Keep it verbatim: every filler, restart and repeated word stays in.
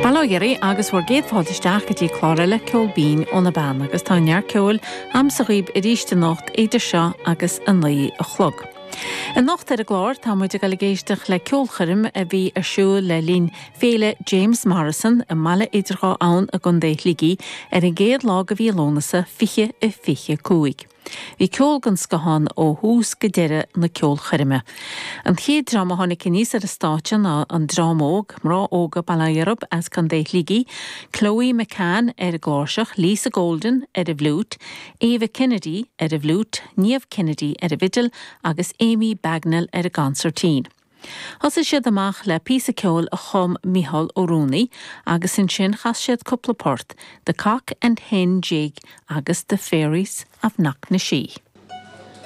Bail ó Dhia oraibh agus bhur gcéad fáilte isteach go dtí clár eile Ceol Binn ó na Beanna agus tá neart ceoil a'msa dhaoibh arís anocht idir seo agus a naoi a chlog. Anocht ar an gclár tá muid ag dul ag éisteacht le ceolchoirm a bhí ar siúl le linn Féile James Morrison i mBaile Idir Dhá Abhainn i gContae Shligigh ar an gcéad lá de mhí Lúnasa fiche a fiche cúig. Bhí ceol den scoth ann ó thús go deireadh na ceolchoirme. An chéad dream a tháinig aníos ar an stáitse ná an dream óg mná óga Baile Ghiob as Contae Shligigh, Chloe McCann ar an gcláirseach, Lisa Golden ar an bhfliúit, Ava Kennedy ar an bhfliúit, Niamh Kennedy ar an bhfidil agus Amy Bagnall ar an gconsairtín. Thosaigh siad amach le píosa ceoil a chum Mícheál Ó Ruanaí agus ansin chas siad cúpla port, The Cock and Hen Jig agus The Fairies of Knocknashee.